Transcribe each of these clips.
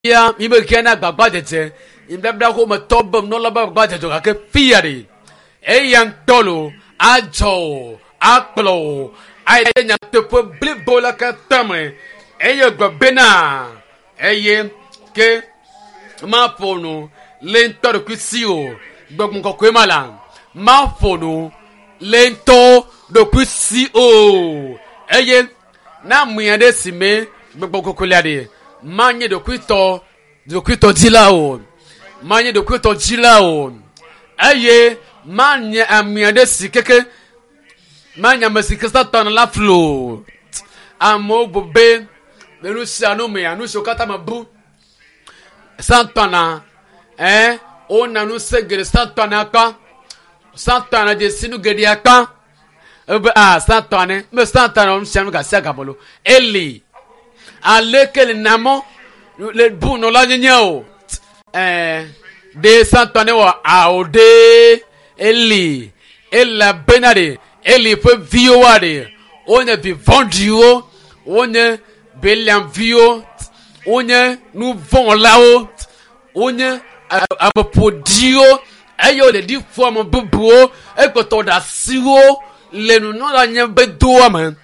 Ya mi be gena gbagba dzedze nubabla ko me tɔ be nunɔla be gbagba dzedze gake fia ɖe eya ŋutɔ lo adzɔ o akplɔ o ayi ɖe nyateƒe blibo la katã me eye gblɔ bena eye ke maƒo nu le ŋutɔ ɖokui si o gbɔgbɔ kɔkɔe ma la maƒo nu le ŋutɔ ɖokui si o eye na ame aɖe si me gbɔgbɔ kɔkɔe la ɖe manye ɖokuitɔ ɖokuitɔ dzila o manye ɖokuitɔ dzila o eye manye ame aɖe si keke manye ame si ke Satana la flu o amewo bu be le nu sia nu mea nu siwo katã me bu Satana ɛ wona ŋusẽ geɖe Satana kpa Satana dze si nu geɖe akpa ebe a Satana me Satana nu sia nu gasia game lo eli aleke le namɔ le bu nɔla nyenye o ɛɛ ɖe Satana wɔ awo ɖe eli elabena ɖe Eli ƒe viwoa ɖe wonye vi vɔ̃ɖiwo wonye Beliam viwo wonye nu vɔ̃wɔlawo wonye ame ƒoɖiwo eye wole ɖi ƒo ame bubuwo ekpɔtɔ ɖe asiwo le nunɔla nye be doa me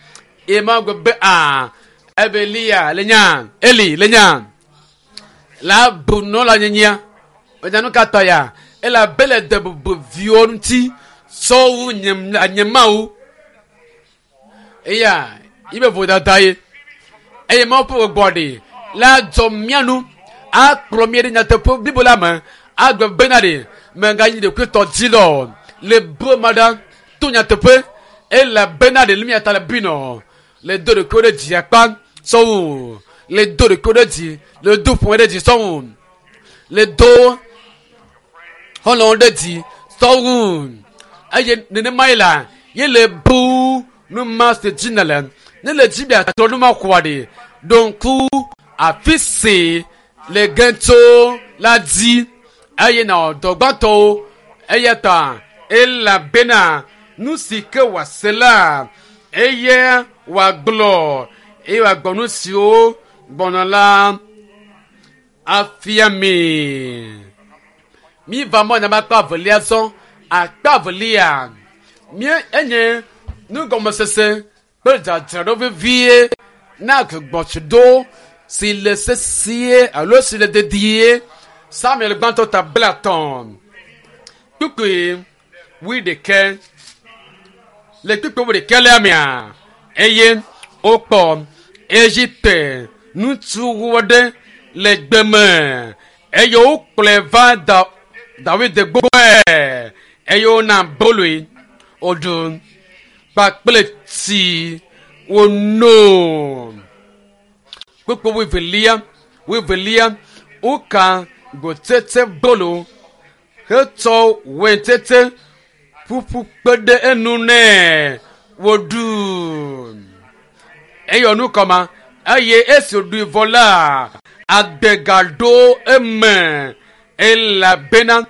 eye ma gbe be a ebe Eliya le nya Eli le nya la bu nunɔla nyenyea enya nu ka ta ya elabe le de bubu viwo ŋuti sɔwu nye nye Mawu eya yibe vodada ye eye Mawu ƒe gbɔgbɔ ɖe la dzɔ mía nu akplɔ mí ɖe nyateƒe blibo la me agbe bena ɖe meganyi ɖokuitɔ dzi lɔ le bu ma ɖa to nyateƒe elabena ɖe le mía ta le binɔ le do ɖokuiwo ɖe dzi akpa sɔwu le do ɖokuiwo ɖe dzi le do ƒome ɖe dzi sɔwu le do xɔlɔ̃wo ɖe dzi sɔwu eye nenema yi la ye le bu nu ma si dzi nele ne le dzi be atrɔ nu ma xɔa ɖe ɖo ŋku afi si le ge tso la dzi eye nɔ dɔ gbãtɔwo eya ta elabena nu si ke wòase la eye wòagblɔ eye wòagblɔ nu siwo gbɔna la afia mi. Mi va mɔ nyama akpa evelia zɔ akpa evelia mie enye nugɔmesese kple dzadzraɖo vevie na gbɔgbɔtsido si le sesie alo si le dedie Samuel gbãtɔ ta 30 kpukpui 21 le kpukpui 21 lea mea eye wokpɔ Egipte ŋutsu aɖe le gbe me eye wokplɔe va da Dawid gbɔe eye wona aboloe wòɖu kpakple tsi wòno. Kpukpui wuievelia wuievelia woka gbotsetse bolo hetsɔ weintsetse ƒuƒu kpe ɖe enu nɛ wòɖu. Eyɔ nu kɔma eye esi wòɖui vɔ la agbe gaɖo eme elabena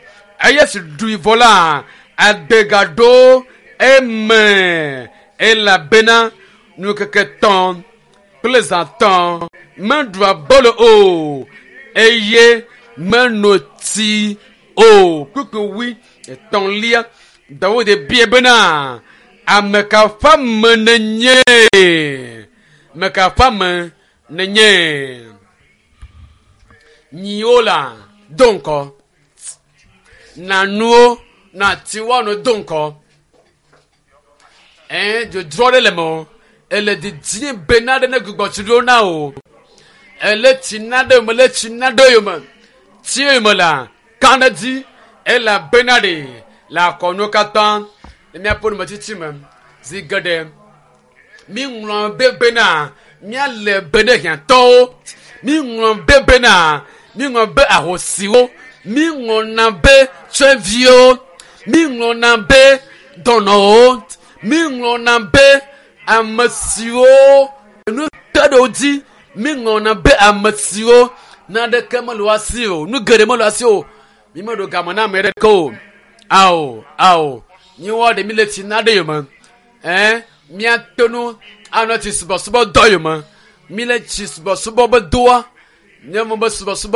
eye esi ɖui vɔ la agbe gaɖo eme elabena nukeke tɔ̃ kple zã tɔ̃ meɖu abolo o eye meno tsi o. Kpukpui wui etɔ̃lia Dawid bia bena ame ka ƒe ame nenye? Ame ka ƒe ame nenye? Nyiwo la do ŋkɔ na nuwo na tiwoa do ŋkɔ. Ɛɛ dzodzro aɖe le me o. Ele didim bena ɖe ne gbugbɔ tsi ɖo na o. Ele tsi na ɖe yome le tsi na ɖe yome. Tsi yome la ka ɖe dzi elabena ɖe le akɔnuwo katã le míaƒe numetsitsi me zi geɖe mi ŋlɔ be bena míale be ne hiãtɔwo mi ŋlɔ be bena mi ŋlɔ be ahosiwo mi ŋlɔna be tsɔeviwo mi ŋlɔna be dɔnɔwo mi ŋlɔna be ame siwo nu te ɖe wo dzi mi ŋlɔna be ame siwo naneke mele wo asi o nu geɖe mele wo asi o mi meɖo game na ame ɖeke o ao ao miwɔ ɖe mi le tsi na ɖe yome ɛn miate nu anɔ tsi subɔsubɔ dɔ yome mi le tsi subɔsubɔ be doa nye mo be subɔsubɔ.